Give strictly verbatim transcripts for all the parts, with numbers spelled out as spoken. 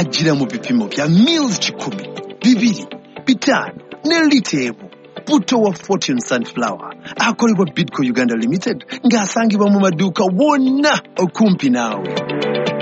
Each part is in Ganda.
Ajjira mu bipimo bya mils kikumi, bibiri, bitaano ne lita emu. Butto wa Fortune Sunflower akolebwa Bidco Uganda Limited ng'asangibwa mu maduuka wonna okumpi naawe.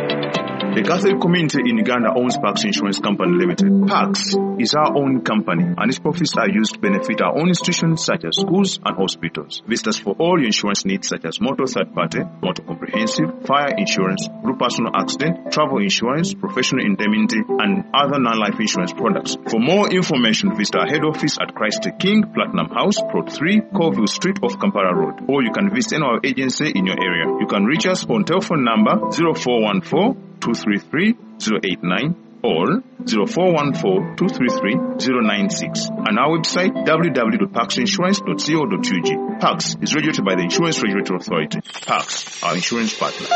The Catholic community in Uganda owns Pax Insurance Company Limited. Pax is our own company and its profits are used to benefit our own institutions such as schools and hospitals. Visit us for all your insurance needs such as motor third party, motor comprehensive, fire insurance, group personal accident, travel insurance, professional indemnity and other non-life insurance products. For more information, visit our head office at Christ the King, Platinum House, Plot three, Colville Street off Kampala Road. Or you can visit any of our agency in your area. You can reach us on telephone number zero four one four two three three zero eight nine or zero four one four two three three zero nine six and our website w w w dot pax insurance dot co dot u g. Pax is regulated by the Insurance Regulatory Authority. Pax, our insurance partner.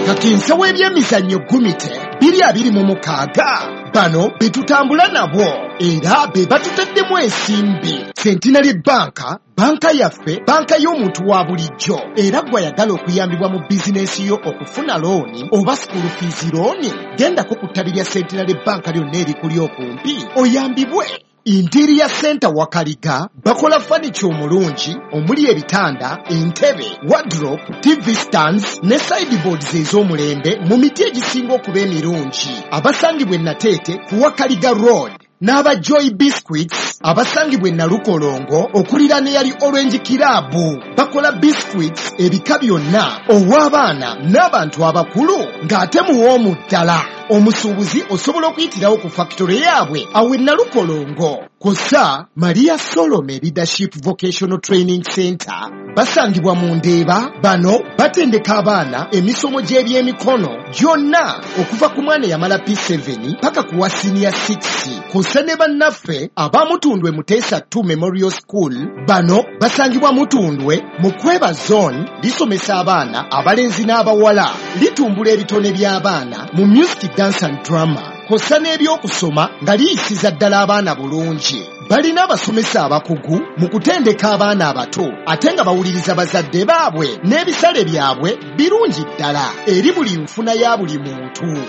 Kakinsa w'ebyemizannyo Gumite biri abiri mu mukaaga bano be tutambula nabo era be batutaddemu ensimbi. Centenary Bank, banka yaffe, banka y'omuntu wa bulijjo, era gw'ayagala okuyambibwa mu bizinensi yo okufuna looni oba school fees looni, gendako ku ttabi lya Centenary Bank lyonna erikuli okumpi oyambibwe. Interior Center Wakaliga bakola furniture omulungi omuli ebitanda, entebe, wardrobe, T V stands ne sideboards ez'omulembe mu miti egisinga okuba emirungi. Abasangibwa e Nateete ku Wakaliga Road n'aba Joy Biscuits abasangibwa e Nalukolongo okuliraana eyali Orange Club bakola biscuits ebika byonna ow'abaana n'abantu abakulu ng'ate muwoomu ddala. Omusuubuzi osobola okuyitirawo ku factory yaabwe awo e Nalukolongo. Kw'ossa Maria Solome Leadership Vocational Training Center basangibwa mu Ndeeba. Bano batendeka abaana emisomo gy'ebyemikono gyonna okuva ku mwana eyamala P seven paka ku wa senior six. Kw'ossa ne bannaffe aba Mutundwe Muteesa two Memorial School bano basangibwa Mutundwe mu Kweba Zone, lisomesa abaana abalenzi n'abawala, litumbula ebitone by'abaana mu music, dance and drama, kw'ossa n'ebyokusoma nga liyisiza ddala abaana bulungi. Balina abasomesa abakugu mu kutendeka abaana abato ate nga bawuliriza bazadde baabwe n'ebisale byabwe birungi ddala eri buli nfuna ya buli muntu.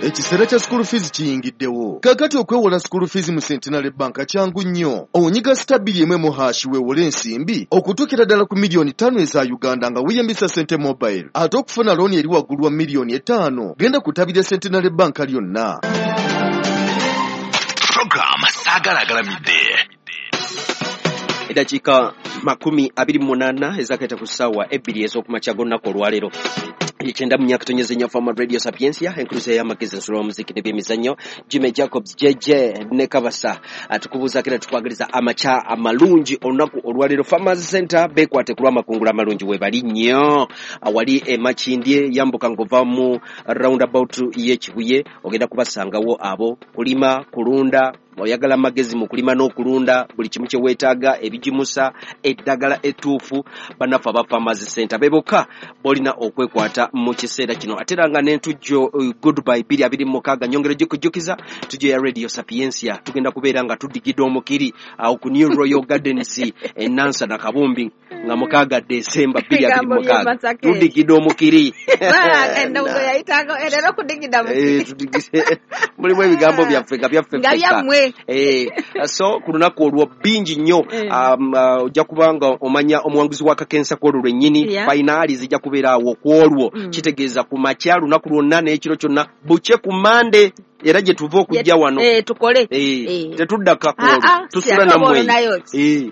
Ekiseera kya school fees kiyingiddewo. Kaakati okwewola school fees mu Centenary Bank kyangu nnyo. Onyiga star bbiri emu emu hash weewole ensimbi okutuukira ddala ku miliyoni ttaano eza Uganda nga weeyambisa Sente Mobile. Ate okufuna looni eri waggulu wa miliyoni etaano genda ku ttabi lya Centenary Bank lyonna. Program Saagala Agalamidde. Eddakiika makumi abiri mu munaana ezakaita ku ssaawa ebbiri ez'okumakya g'olunaku olwaleero. Ekyenda mu myaka tonyeze nnyo Farmer Radio Sapientia, enkuluze y'amagezi ensolo y'omuziki n'ebyemizannyo. Jimmy Jacobs J J ne Kabasa atukubuuzaako era tukwagaliza amakya amalungi olunaku olwaleero. Farmers Center beekwate ku lw'amakungula amalungi weebali nnyo. Awali e Makindye yambuka ng'ova mu roundabout y'e Kibuye ogenda kubasangawo abo kulima, kulunda, oyagala amagezi mu kulima n'okulunda buli kimu kye weetaaga, ebigimusa, eddagala ettuufu. Bannaffe aba Farmers Center be bokka b'olina okwekwata mu kiseera kino. Ate era nga n'entujjo Goodbye bbiri abiri mu mukaaga nyongera gikujjukiza tujjo ya Radio Sapientia tugenda kubeera nga tudigidde omukiri awo ku New Royal Gardens e Nansana Kabumbi nga mukaaga Desemba bbiri abiri mu mukaaga tudigidde omukiri. Mulimu ebigambo byaffe nga byaffe ffekka. Eh, so ku lunaku olwo bingi nnyo ojja kuba nga omanya omuwanguzi wa kakensa kw'olwo lwennyini. Finali zijja kubeera awo kw'olwo, kitegeeza ku makya lunaku lwonna n'ekiro kyonna bukye ku Mande era gye tuva okujja wano tukole tetuddaka kwolwo tusula nammwe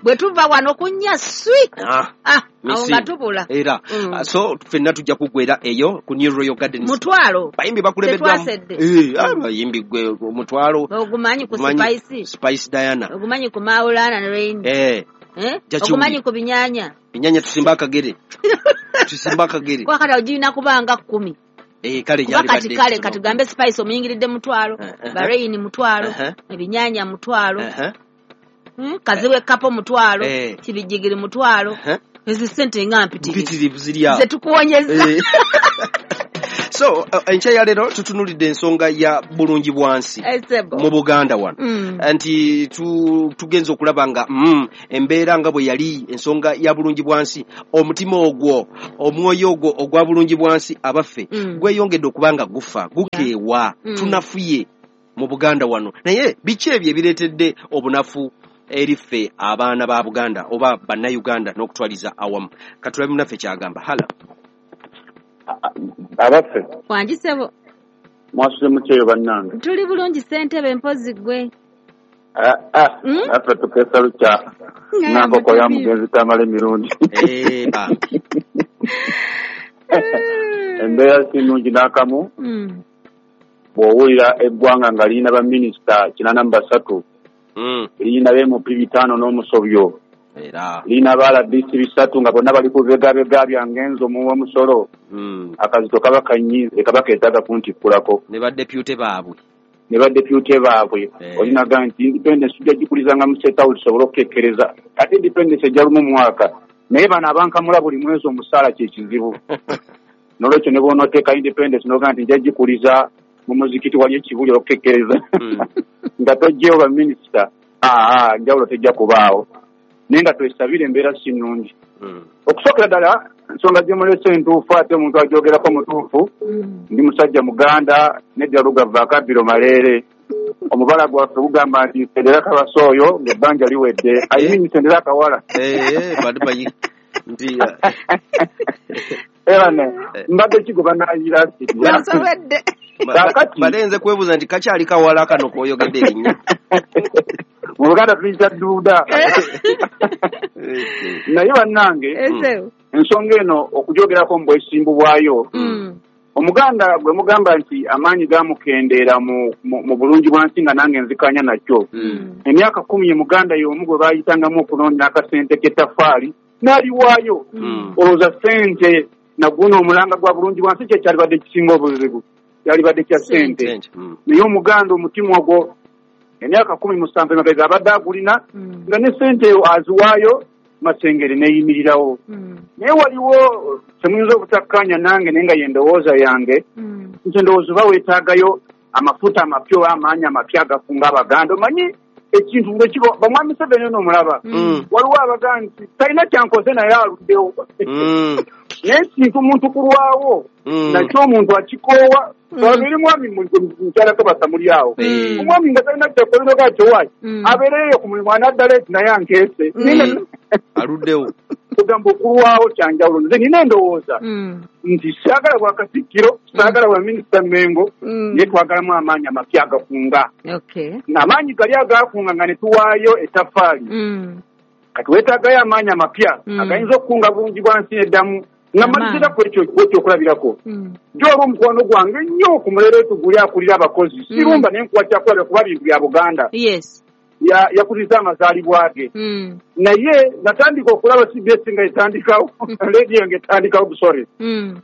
bwe tuva wano kunnya swi awo nga tubula era so ffenna tujja kuggwera eyo ku New Royal Gardens. Mutwalo bayimbi bakulembeddwamu abayimbi gwe mutwalo ogumanyi ku Spice Spice Diana, ogumanyi ku Maulana ne Rain, ogumanyi ku binyanya binyanya tusimba akagere tusimba akagere kwa kati ogirina kubanga kkumi. Eh, kale kuba kati kale katugambe Spice omuyingiridde mutwalo, Bahrain mutwalo, ebinyanya mutwalo, kaziwe kapo mutwalo, kibijigiri mutwalo. Ezi sente nga mpitirivu ziri awo ze tukuwonyeza. So enkya ya leero tutunulidde ensonga ya bulungi bwansi mu Buganda wano. Nti tugenze okulaba nga embeera nga bwe yali ensonga ya bulungi bwansi, omutima ogwo, omwoyo ogwo ogwa bulungi bwansi abaffe gweyongedde okuba nga gufa, gukeewa, tunafuye mu Buganda wano. Naye biki ebyo ebireetedde obunafu eri ffe abaana ba Buganda oba bannayuganda n'okutwaliza awamu? Katulabe munaffe kyagamba. Hala abaffe wangi ssebo, mwasuze mutyeyo bannange? Tuli bulungi ssentebe, mpozi ggwe. Affe tukeesa lukya nankoko ya mugenzi Tamale Mirundi. Embeera si nnungi n'akamu. Bw'owulira eggwanga nga lirina baminisita kinaana mu basatu, lirina ba M P bitaano n'omusobyo, lirina ba R D C bisatu nga bonna bali ku bibegabega byange nze omuwa omusolo, akazito kaba kanyiize, kaba keetaaga kuntikkulako. Ne badepute baabwe. Ne badepute baabwe. Olinaga nti independence tujja gikulizanga mu State House tusobole okukekkereza. Ate independence ejja lumu mwaka. Naye bano abankamula buli mwezi omusaala kye kizibu. N'olwekyo ne bw'onooteeka independence n'ogaa nti nja gikuliza mu muzikiti wali ekibuli okukekkereza. Nga toggyewo baminisita, aa njawulo tejja kubaawo. Naye nga twesabire embeera si nnungi. Okusookera ddala ensonga gye mulese entuufu, ate omuntu agyogerako mutuufu. Ndi musajja Muganda nedda Lugava akabbiro Maleere. Omubala gwaffe gugamba nti nsendera kabasa oyo ng'ebbanja liwedde. I mean nsendera akawala. Era ne mbadde kigoba naayira nsobedde. Mbadde nze kwebuuza nti kakyali kawala kano k'oyogedde erinnya. Mu Buganda tuyita dduuda. Naye bannange ensonga eno okugyogerako mu bwesimbu bwayo, Omuganda gwe mugamba nti amaanyi gamukendeera mu bulungi bwansi nga nange nzikanya nakyo. Emyaka kumi ye Muganda y'omu gwe baayitangamu okulonda akasente k'ettaffaali n'aliwaayo. Olowooza ssente naguno omulanga gwa bulungi bwansi kye kyalibadde kisinga obuzibu, kyalibadde kya ssente. Naye Omuganda omutima ogwo emyaka kumi musanvu emabega abadde agulina nga ne ssente eyo aziwaayo, Masengere neeyimirirawo. Naye waliwo temuyinza obutakkaanya nange naye nga ye ndowooza yange nti ndowooza oba weetaagayo amafuta amapya oba amaanyi amapya agafunga Abaganda. Omanyi ekintu bwe kiba bamwami Museveni ono omulaba, waliwo abagamba nti talina kyankoze naye aluddewo. Naye ekintu omuntu kulwawo nakyo omuntu akikoowa. Eri mwami mukyala Kabasa muli awo, omwami nga talina kyakolero gakyo waaki abeereyo ku mulimu anaddala eti naye ankeese aluddewo. Kugamba okulwawo kyanjawulo. Nze nina endowooza nti saagala bwa Katikkiro, saagala bwa minisita Mmengo, naye twagalamu amaanyi amapya agakunga. Amaanyi gali agakunga nga ne tuwaayo ettaffaali. Kati weetaagayo amaanyi amapya agayinza okukunga bulungi bwa nsi eddamu. Nga malizira ku ekyo ekyokulabirako, gy'oba omukwano gwange nnyo ku Mulere guli akulira abakozi, sirumba naye nkuwa kyakulabira kuba bintu bya Buganda. Yakuliza amazaalibwa ge. Naye natandika okulaba C B S nga etandikawo, radio nga etandikawo, sorry,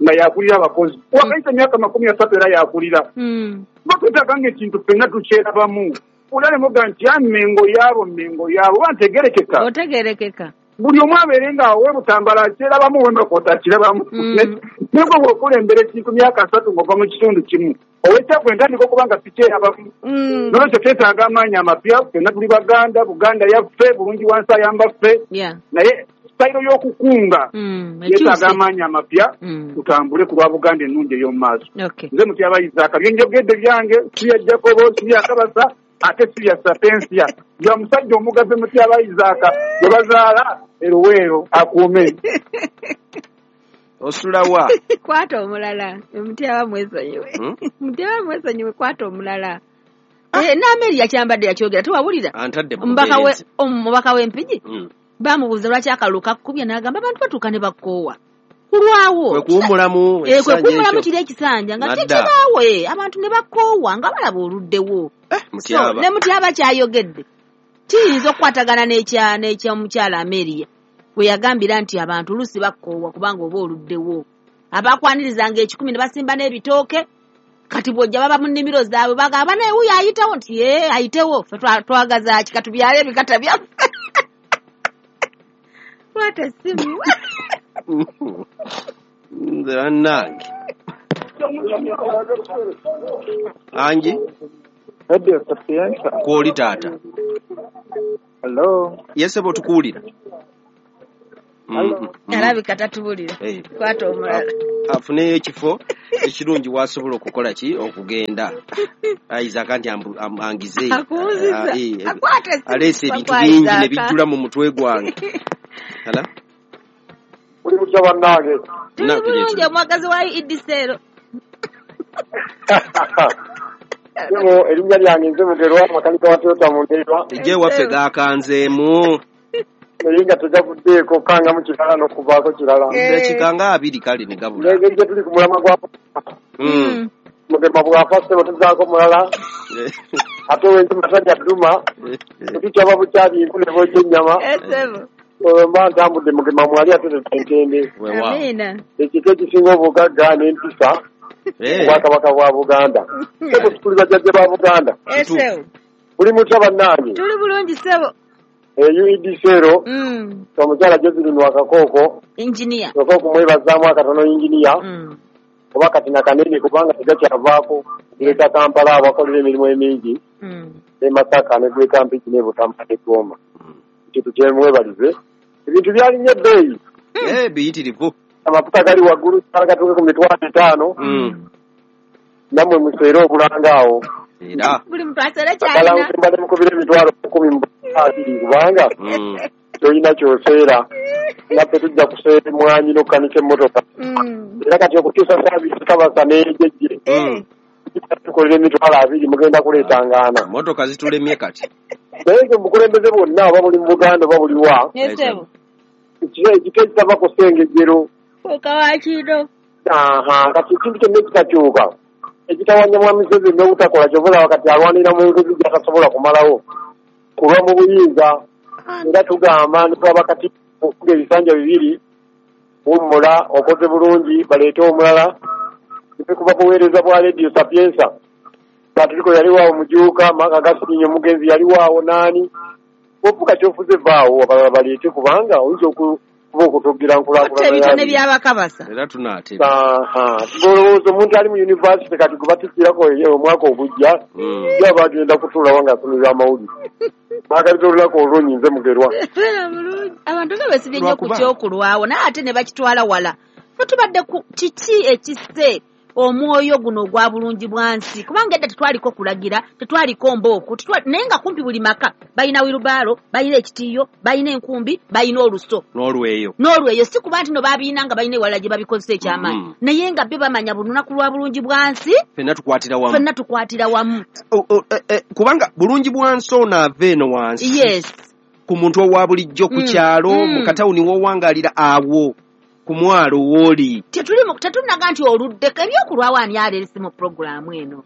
nga yakulira abakozi. Wakayita emyaka makumi asatu era yakulira. Tuba twetaaga ng'ekintu ffenna tukyerabamu. Olale muga nti ya Mmengo yaabo, Mmengo yaabo, oba ntegerekeka. Otegerekeka. Buli omu abeere nga awe Butambala akyerabamu, Wembakota akirabamu. Naye gwe bw'okulembera ekintu myaka asatu ng'ova mu kitundu kimu, ow'ekyaggwe ntandika okuba nga sikyerabamu. N'olwekyo twetaaga amaanyi amapya, ffenna tuli Baganda, Buganda yaffe, bulungi wansi ayamba ffe. Naye sitayiro y'okukunga yeetaaga amaanyi amapya, tutambule ku lwa Buganda ennungi ey'omu maaso. Nze Mutyaba Isaac, bye njogedde byange, si bya Jacobo, si bya Kabasa, ate si bya Sapensia. Bya musajja omugabe Mutyaba Isaac gwe bazaala Eruweero akuume. Osulawa. Kwata omulala, Mutyaba mwesonyiwe. Mutyaba mwesonyiwe, kwata omulala. Eh, n'Ameri yakyambadde yakyogera, tewawulira? Omubaka w'Empigi bamubuuza lwaki akalulu kakkubye, n'agamba abantu batuuka ne bakoowa. Kulwawo. Kwe kuwummulamu ekisanja. Kwe kuwummulamu kiri ekisanja nga tekibaawo, abantu ne bakoowa nga balaba oluddewo. So ne Mutyaba kyayogedde kiyinza okukwatagana n'ekya n'ekyomukyala Ameria we yagambira nti abantu oluusi bakoowa kubanga oba oluddewo. Abakwanirizanga ekikumi ne basimba n'ebitooke, kati bw'ojja baba mu nnimiro zaabwe bagamba naye wuuyo ayitawo nti ee ayitewo, ffe twagaza ki katubyale ebikata byaffe. Kwata essimu. Nze bannange. Angi? Radio Sapienza. Kwoli taata. Hello. Yes, ebo tukuwulira. Mm, alabika tatuwulira. Kwata omulala. Afuneyo ekifo ekirungi wasobola okukola ki okugenda. Isaac nti angize. Akuwuziza. Aleese ebintu bingi ne bijjula mu mutwe gwange. Hala? Uli mutya bannange. Tuli bulungi omwagazi wa Idisero. Sebo erinnya lyange nze Mugerwa makanika wa Toyota mu Ndeerwa. Ejje waffe gaakanzeemu. Naye nga tegavuddeeko kangamu kirala n'okuvaako kirala. Eddakiika nga abiri kale ne gabula. N'engeri gye tuli ku mulamwa gwa Mugema bw'afa ssebo tuzzaako mulala. Ate ow'enjuma talya dduma. Tetukyaba bukyabi nku ne bookya ennyama. Mba ntambudde Mugema mwali ate tetentende. Amiina. Ekika ekisinga obugagga n'empisa. Obwakabaka bwa Buganda. Ssebo tuli bajjajja ba Buganda. Buli mutya bannange. Tuli bulungi ssebo. U E D Sero, omukyala Josephine Wakakooko, engineer. Sooka okumwebazaamu akatono engineer. Oba kati nakanene kubanga tegakyavaako gireeta Kampala abakolera emirimu emingi ne Masaka ne Gweka Mpigi ne Butambala ne Goma. Ekintu kyemwebalize. Ebintu byalinnya ebbeeyi. Eh, biyitirivu. Amafuta gali waggulu gatuuke ku mitwalo etaano. Nammwe museere obulanga awo. Era. Buli muntu aseera ky'alina. Mbadde mukubira emitwalo kkumi mu abiri kubanga tolina ky'oseera. Naffe tujja kuseera emmwanyi n'okukanika emmotoka. Era kati okutuusa saabiisi kabasa n'ejejje. Tukolera emitwalo abiri mugenda kuleetangaana. Emmotoka zitulemye kati. Naye nze obukulembeze bwonna oba buli mu Buganda oba buli wa. Ekika ekitava ku Ssengejjero. Fuuka wa kino. Aha, kati ekintu kyonna ekitakyuka. Ekitawanya Mwami Museveni n'obutakola ky'ova olaba kati alwanira mu nguzi gy'atasobola kumalawo. Kulwa mu buyinza. Era tugamba nti twaba kati okuga ebisanja bibiri wummula okoze bulungi baleete omulala. Kuva buweereza bwa Radio Sapienza. Patrico yaliwo Mujuuka, Maka Gasinyo omugenzi yaliwo naani. Ofuka ky'ofuze vaawo abalala baleete kubanga oyinza okuba okutugira nkulaakulana. Ebitone by'abakabasa. Era tunaatera. Aha. Ng'olowooza omuntu ali mu yunivasite kati gwe batikkirako omwaka ogujja, ye aba agenda kutuulawo ng'asomera amawulire. Baagaliza olunaku olulungi nze Mugerwa. Abantu nga beesibye nnyo ku ky'okulwawo naye ate ne bakitwala wala. Ffe tubadde ku kiki ekisse omwoyo guno ogwa bulungi bwa nsi kubanga edda tetwaliko kulagira, tetwaliko mbooko, naye nga kumpi buli maka balina wirubaalo, balina ekitiiyo, balina enkumbi, balina oluso n'olweyo n'olweyo. Si kuba nti no babiina nga balina ewalala gye babikozesa ekyamaanyi, mm. naye nga byo bamanya buli lunaku lwa bulungi bwa nsi ffenna tukwatira wamu, ffenna tukwatira wamu. O, o, e, e, kubanga bulungi bwa nsi ono ava eno wansi, yes, ku muntu owa bulijjo ku kyalo, mm. mu katawuni w'owangalira awo ku mwalo w'oli. Tetunaga nti oluddeko ebyokulwawo ani aleese mu puroguraamu eno.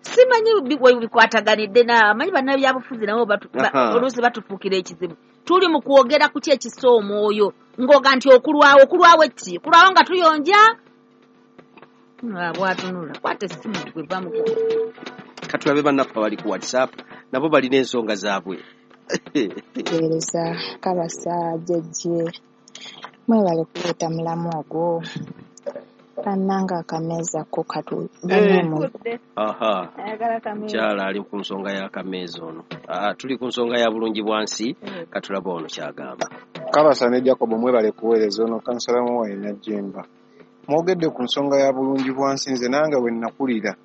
Simanyi we bikwataganidde na amanyi bannabyabufuzi nabo oluusi batufuukira ekizibu. Tuli mu kwogera ku ki ekissa omwoyo ng'oga nti okulwawo, okulwawo ki? Okulwawo nga tuyonja? Bwatunula kwata essimu gweva mu katulabe bannaffe abali ku WhatsApp nabo balina ensonga zaabwe. Weereza Kabasa Jjejje, mwebale kuleeta mulamu ogwo. Bannange akameeza ko katu bannamwe. Aha, mukyala ali ku nsonga y'akameeza ono. Aa, tuli ku nsonga ya bulungi bwa nsi, katulaba ono kyagamba. Kabasa ne Jacob mwebale kuweereza ono kansala muwaye Najjemba. Mwogedde ku nsonga ya bulungi bwa nsi, nze nange bwe nakulira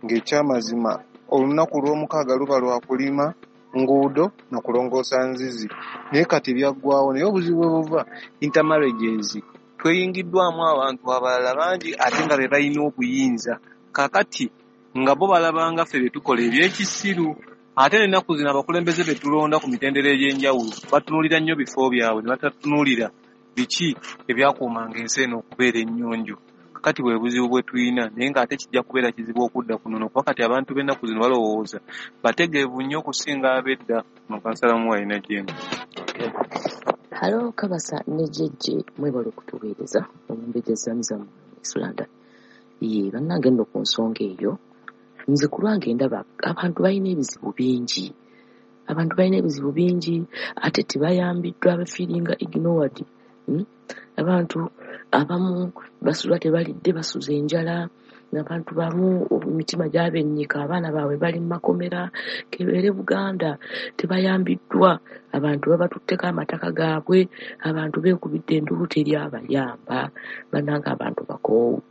ng'ekyamazima olunaku lw'omukaaga luba lwa kulima nguudo na kulongoosa nzizi, naye kati byaggwawo. Naye obuzibu bwe buva intermarriages, tweyingiddwamu abantu abalala bangi ate nga be balina obuyinza. Kaakati nga bo balabanga ffe bye tukola ebyekisiru, ate n'ennaku zino abakulembeze be tulonda ku mitendera egy'enjawulo batunuulira nnyo bifo byabwe ne batatunuulira biki ebyakuumanga ensi eno okubeera ennyonjo. Kakati bwe buzibu bwe tulina, naye ng'ate kijja kubeera kizibu okudda ku nnono kuba kati abantu b'ennaku zino balowooza bategeevu nnyo okusinga ab'edda. Ono kansala Muwayi Najjemba. Halo Kabasa ne Jjejje, mwebale okutuweereza omumbejja Zamzam Islanda. Ye bannange nno ku nsonga eyo nze ku lwange ndaba abantu balina ebizibu bingi, abantu balina ebizibu bingi ate tebayambiddwa, abafiiringa ignored. Mm? Abantu abamu basula tebalidde, basuza enjala, abantu bamu emitima gyabennyika, abaana baabwe bali mu makomera, kebeere Buganda tebayambiddwa, abantu babatutteko amataka gaabwe, abantu beekubidde enduulu teri abayamba, bannange abantu bakoowu.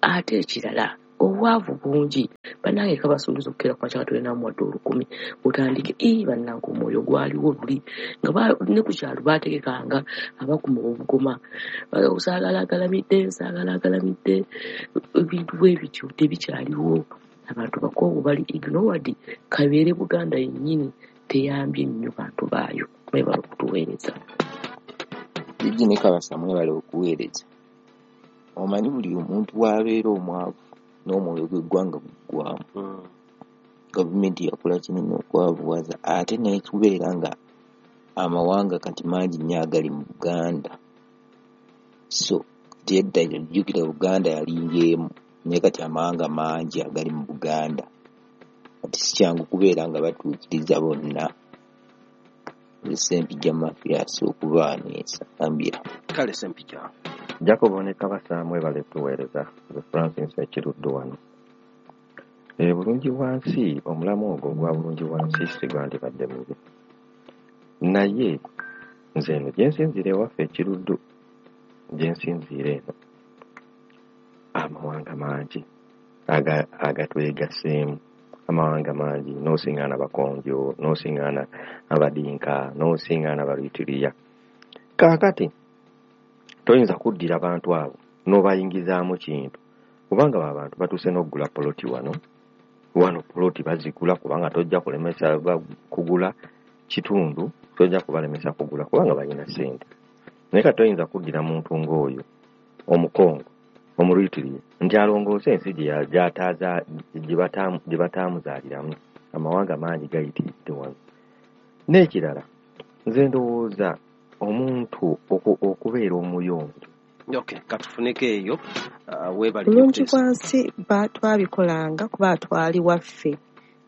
Ate ekirala obwavu bungi, bannange kabasuubiza okukeera ku makya tulina muwadde olukumi otandike ii bannange omwoyo gwaliwo luli nga ne ku kyalo baategekanga abakuma obugoma, saagala agalamidde, saagala agalamidde, ebintu bwe bityo tebikyaliwo. Abantu bakoowu bali ignored, kabeere Buganda yennyini teyambye nnyo bantu baayo. Mwebale okutuweereza. Jjajja ne Kabasa mwebale okuweereza. Omanyi buli omuntu w'abeera omwavu n'omwoyo gw'eggwanga guggwamu. Gavumenti yakola kinene okwavuwaza ate n'ekubeera nga amawanga kati mangi nnyo agali mu Buganda. So kati edda jjukira Buganda yalinga emu, naye kati amawanga mangi agali mu Buganda. Kati si kyangu kubeera nga batuukiriza bonna. Sempijja Mathias okuva wano e Nsambya. Kale Sempijja. Jacob ne Kabasa mwebale tuweereza. Nze Francis Ekiruddu wano. E, bulungi bwansi, omulamu ogwo ogwa bulungi bwansi si gwandibadde mubi. Naye nze eno gye nsinziira ewaffe Ekiruddu, gye nsinziira eno, amawanga mangi agatwegaseemu, amawanga mangi, n'osiŋŋaana Bakonjo, n'osiŋŋaana Abadinka, n'osiŋŋaana Balwitiriya. Kaakati toyinza kuddira bantu abo n'obayingizaamu kintu, kubanga abantu batuuse n'okugula poloti wano. Wano poloti bazigula kubanga tojja kulemesa kugula kitundu, tojja kubalemesa kugula kubanga balina ssente. Naye kati toyinza kuddira muntu ng'oyo Omukongo, Omulwitiriya, nti alongoose ensi gye bataamuzaaliramu. Amawanga mangi gayitiridde wano. N'ekirala, nze ndowooza omuntu okubeera omuyonjo. Okay, katufuneko eyo. Uh, bulungi bwansi twabikolanga kuba twali waffe,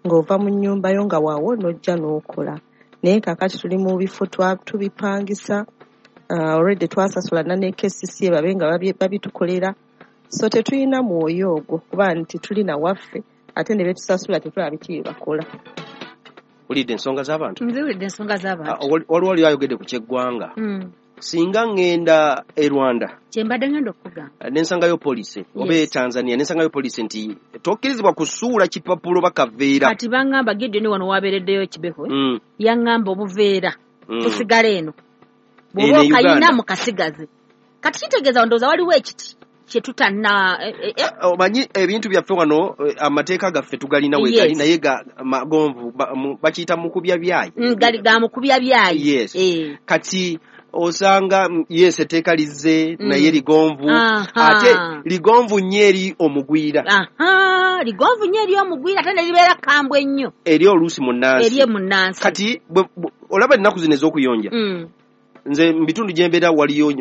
ng'ova mu nnyumba yo nga waawo n'ojja n'okola. Naye kaakati tuli mu bifo tubipangisa, uh, already twasasula ne K C C babe nga babitukolera. So tetulina mwoyo ogwo kuba nti tulina waffe, ate ne betusasula tetulaba biki bye bakola. Olidde ensonga z'abantu? Nziwulidde ensonga z'abantu. Waliwo oli ayogedde ku ky'eggwanga. Singa ŋŋenda e Rwanda, kye mbadde ŋŋenda okugamba, ne nsangayo poliisi oba e Tanzania, ne nsangayo poliisi nti tokkirizibwa kusuula kipapulo bakaveera. Kati baŋŋamba Gideon wano wabeereddeyo Kibeho, yaŋŋamba obuveera busigala eno, bw'oba okayina mukasigaze. Kati kitegeeza ndowooza waliwo ekiti kye tutanna. Omanyi ebintu byaffe wano, amateeka gaffe tugalina wegali, naye magonvu, bakiyita mukubya byayi. Gali ga mukubya byayi. Yes. Kati osanga yes etteeka lizze naye ligonvu, ate ligonvu nnyo eri omugwira. Aha, ligonvu nnyo eri omugwira, ate ne libeera kambwe nnyo eri oluusi munnansi. Eri munnansi. Kati olaba ennaku zino ez'okuyonja, nze mu bitundu gye mbeera waliyo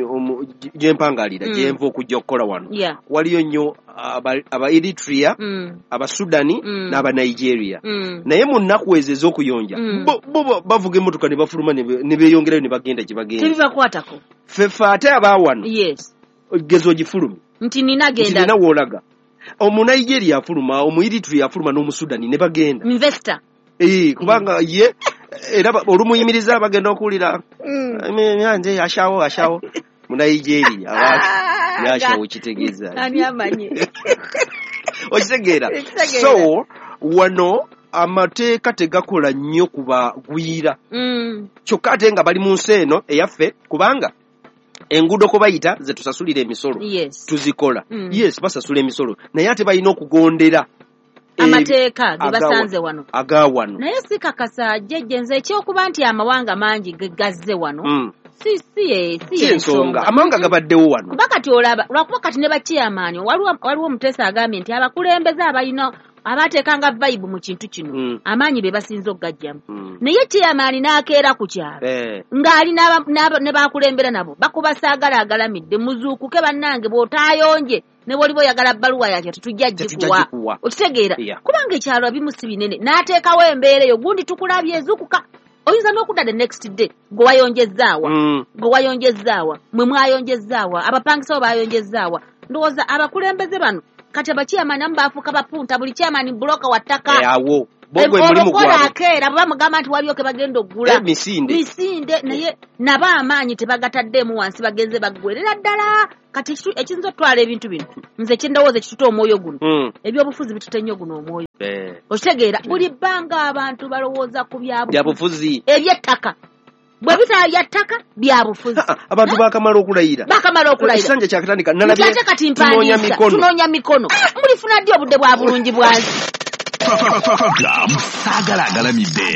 gye mpangalira, gye nva okujja okukola wano, waliyo nnyo aba Eritrea, aba Sudani n'aba Nigeria. Naye mu nnaku ezo ez'okuyonja bo bavuga emmotoka ne bafuluma ne beeyongerayo ne bagenda gye bagenda. Tebibakwatako. Ffe ffe ate aba wano, geza ogifulumye nti nina genda, nina w'olaga. Omunigeria afuluma, omu Eritrea afuluma n'Omusudani ne bagenda. Investor. Eh, kubanga ye era olumuyimiriza bagenda okuwulira nze yashawo ashawo mu Nigeria yashawo kitegeeza ani amanyi okitegeera. So wano amateeka tegakola nnyo kubagwira, kyokka ate nga bali mu nsi eno eyaffe, kubanga enguudo ko bayita ze tusasulira emisolo, tuzikola. Yes, basasula emisolo, naye ate balina okugondera amateeka ge basanze wano aga wano. Naye si kakasa jjajja nze ekyokuba nti amawanga mangi gazze wano si si si ensonga. Amawanga gabaddewo wano kuba kati olaba lwakuba kati ne bachairman waliwo omuteesa agambye nti abakulembeze abalina abateekanga vibe mu kintu kino amaanyi be basinze okugajjamu. Naye chairman n'akeera ku kyalo ng'ali ne bakulembera nabo bakuba saagala agalamidde, muzuukuke bannange bw'otaayonje ne bw'oliba oyagala bbaluwa yakyo tetujja gikuwa. Okitegeera? Kubanga ekyalo ebimu si binene, n'ateekawo embeera eyo gundi tukulabye ezuukuka. Oyinza n'okudda the next day gwe wayonjezaawa Mm. gwe wayonjezaawa mwe mwayonjezaawa abapangisa bo bayonjezaawa. Ndowooza abakulembeze bano kati abakyamani amu baafuuka bapunta, buli kyamani buloka wa ttaka. Eh, awo bogwe mulimu Olukola gwabwe. akeera bwe bamugamba nti waliyo ke bagenda oggula Eh, misinde. misinde, naye nabo amaanyi tebagataddeemu wansi, bagenze baggwerera ddala. Kati ekitu- ekiyinza okutwala ebintu bino, nze kyendowooza ekituta omwoyo guno, Mm. ebyobufuzi bituta ennyo guno omwoyo. Eh, Okitegeera, buli bbanga abantu balowooza ku byabufuzi, byabufuzi. Ebyettaka bwe bitaba bya ttaka byabufuzi. Abantu bakamala okulayira, Bakamala okulayira. Ekisanja kyakatandika. Nti ate kati tunoonya mpandiisa mikono. Tunoonya mikono. Mulifuna ddi obudde bwa bulungi bwansi? Program Saagala Agalamidde.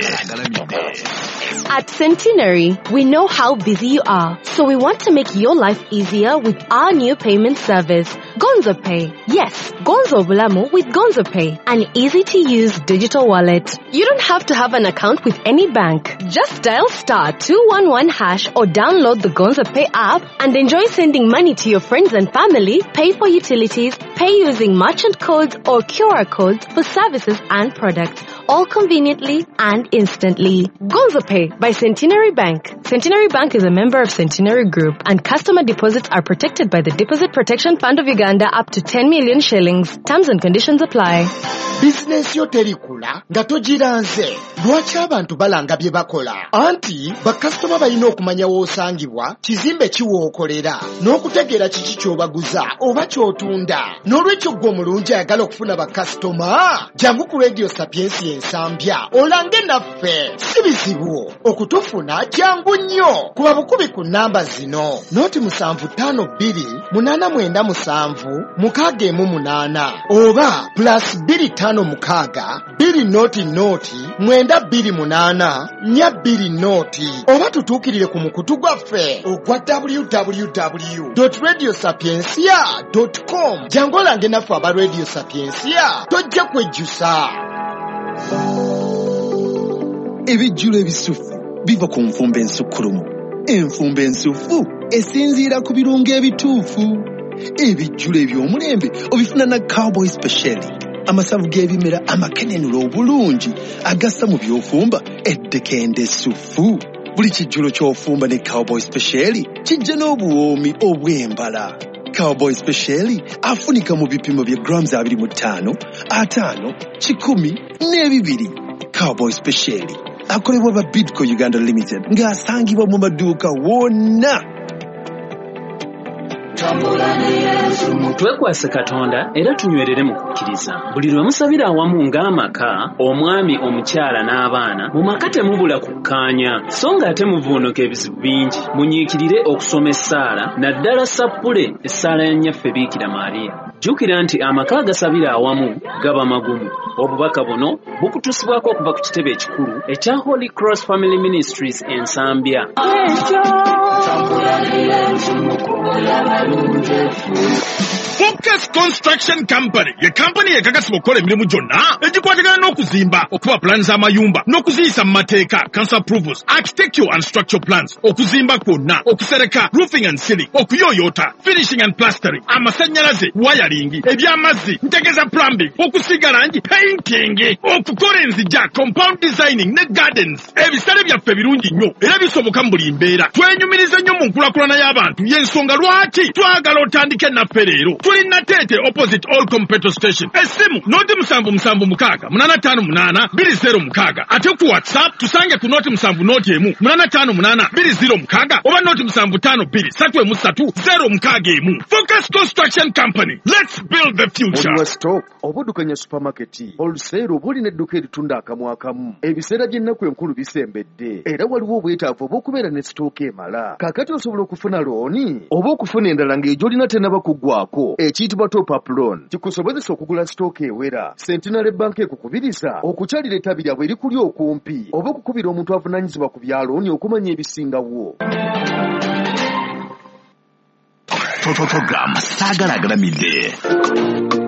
At Centenary, we know how busy you are, so we want to make your life easier with our new payment service, Gonzo Pay. Yes, Gonzo Bulamu with Gonzo Pay, an easy-to-use digital wallet. You don't have to have an account with any bank. Just dial star two one one hash or download the Gonzo Pay app and enjoy sending money to your friends and family, pay for utilities, pay using merchant codes or Q R codes for services and products, all conveniently and instantly. Gonzo Pay by Centenary Bank. Centenary Bank is a member of Centenary Group, and customer deposits are protected by the Deposit Protection Fund of Uganda up to ten million shillings. Terms and conditions apply. Bizinensi yo terikula nga togiranze. Lwaki abantu balanga bye bakola? Anti bakasitoma balina okumanya w'osangibwa, kizimbe ki w'okolera, n'okutegeera kiki ky'obaguza oba ky'otunda. N'olwekyo ggwe omulungi ayagala okufuna bakasitoma, jangu ku Radio Sapiensia Ensambya olange naffe. Si bizibu okutufuna, jangu nnyo. Kuba bukubi ku nnamba zino: noti musanvu ttaano bbiri munaana mwenda musanvu mukaaga emu munaana oba plus bbiri ttaano mukaaga bbiri noti noti mwenda bbiri munaana nnya bbiri noti, oba tutuukirire ku mukutu gwaffe ogwa w w w dot radio sapiensia dot com. Jangu olange naffe aba Radio Sapiensia, tojja kwejjusa. Ebijjulo ebisufu biva ku nfumba ensukkulumu. Enfumba ensufu esinziira ku birungo ebituufu. Ebijjulo eby'omulembe obifuna na Cowboy Special, amasavu g'ebimera amakenenula obulungi agassa mu by'ofumba eddekende essufu. Buli kijjulo ky'ofumba ne Cowboy Special kijja n'obuwoomi obw'embala. Cowboy Special afunika mu bipimo bya grams abiri mu ttaano, ataano, kikumi n'ebibiri. Cowboy Special akolebwa ba Bidco Uganda Limited ng'asangibwa mu maduuka wonna. Twekwase Katonda era tunywerere mu kukkiriza. Buli lwe musabira awamu ng'amaka, omwami, omukyala n'abaana, mu maka temubula kukkaanya, so ng'ate muvuunuka ebizibu bingi. Munyiikirire okusoma essaala, naddala sappule essaala ya Nnyaffe Biikira Maria. Jjukira nti amaka agasabira awamu gaba magumu. Obubaka buno bukutuusibwako okuva ku kitebe ekikulu ekya Holy Cross Family Ministries Ensambya. Focus Construction Company ye kampani ekakasibwa okukola emirimu gyonna egikwatagana n'okuzimba, okuba pulaani z'amayumba n'okuziyisa mu mateeka, council approvals, architectural and structural plans, okuzimba kwonna, okusereka, roofing and ceiling, okuyooyoota, finishing and plastering, amasannyalaze, wiring, eby'amazzi, ntegeza plumbing, okusiiga langi, painting, okukola enzija, compound designing ne gardens. Ebisale byaffe birungi nnyo era bisoboka mu buli mbeera. Twenyumiriza nnyo mu nkulaakulana y'abantu, y'ensonga lwaki twagala otandike naffe leero. Tuli Nateete opposite all petrol station. Essimu noti musanvu musanvu mukaaga munaana ttaano munaana bbiri zero mukaaga. Ate ku WhatsApp tusange ku noti musanvu noti emu munaana ttaano munaana bbiri zero mukaaga oba noti musanvu ttaano bbiri ssatu emu ssatu zero mukaaga emu. Focus Construction Company. Let's build the future. Oliwa stock obuddukanya supermarket wholesale oba olina edduuka eritunda akamu akamu. Ebiseera by'ennaku enkulu bisembedde era waliwo obwetaavu obw'okubeera ne sitooka emala. Kaakati osobola okufuna looni oba okufuna endala ng'egy'olina tennaba kuggwako, ekiyitibwa top up loan, kikusobozesa okugula sitooka ewera. Centenary Bank ekukubiriza okukyalira ettabi lyabwe erikuli okumpi oba okukubira omuntu avunaanyizibwa ku bya looni okumanya ebisingawo. Program Saagala Agalamidde.